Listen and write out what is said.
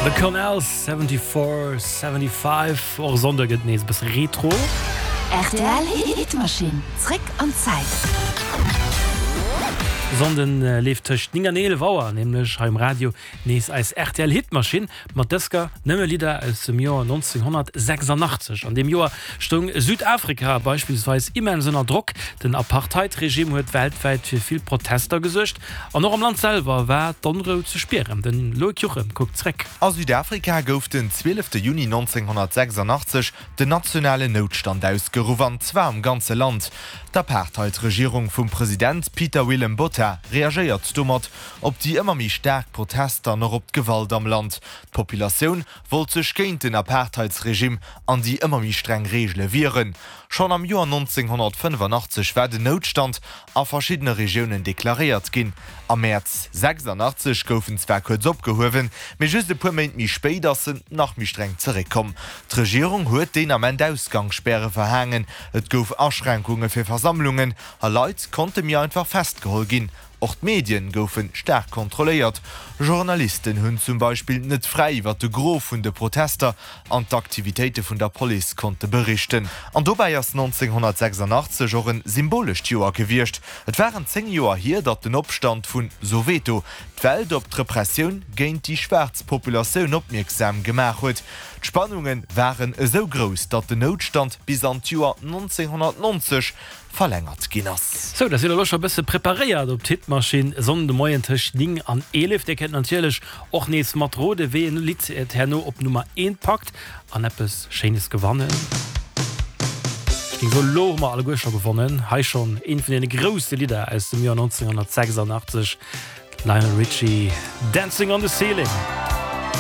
The Connells, 74, 75. Och e Sonndë gëtt nees e bësse retro. Rtl Hitmachine, zréck an d'Zäit. E Sonnden leeft tëscht 9 an 11 Auer nämlech hei um Radio nees eis rtl Hitmachine mat dësker nëmme Lidder aus dem Joer 1986. An deem Joer stoung Südafrika beispillsweis immens ënner Drock. Den Apartheid-Regime huet weltwäit fir vill Protester gesuergt an och am Land selwer war d'Onrou ze spieren. Den Loïc Juchem kuckt zréck. A Südafrika gouf den 12 Juni 1986 den nationalen Noutstand ausgeruff, an zwar am ganze Land. D'Apartheid-Regierung vum President Pieter Willem Botha reagéiert domat op déi ëmmer méi staark Protester an och op d'Gewalt am Land. D'Populatioun wollt sech géint den Apartheidsregime an déi ëmmer méi streng Reegele wieren. Schonn am Joer 1985 war den Noutstand a verschiddene Regiounen deklaréiert ginn. Am Mäerz 86 gouf en zwar kuerz opgehuewen, mee just e puer Méint méi spéit ass en nach méi streng zeréckkomm. D'Regierung huet deen Ament Ausgangsspäre verhaangen, et gouf Aschränkunge fir Versammlungen a Leit konnte méi einfach festgeholl ginn. Och d'Medien goufe staark kontrolléiert. Journalisten hunn zum Beispill net fräi iwwer de Gros vun de Protester an d'Aktivitéite vun der Police konnte berichten. An dobäi ass 1986 och e symbolescht Joer gewiescht. Et waren 10 Joer hier, datt den Opstand vu Soweto d'Welt op d'Repressioun géint déi schwaarz Populatioun opmierksam gemaach huet. D'Spannunge waren esou grouss, datt den Noutstand bis an d'Joer 1990 verlängert ginn ass. Sou, da sidd der elo scho bësse preparéiert op d'Hitmaschinn e Sonnden de Moien tëscht 9 an 11. Dir kënnt natierlech och nees mat rode wéi en Lidd et herno op Nummer 1 packt an eppes Schéines gewannen. Ech géing soen, elo hu mer alleguer scho gewonnen. Hei schonn eent vun deene grousse Lidder aus dem Joer 1986, Lionel Richie, Dancing on the Ceiling.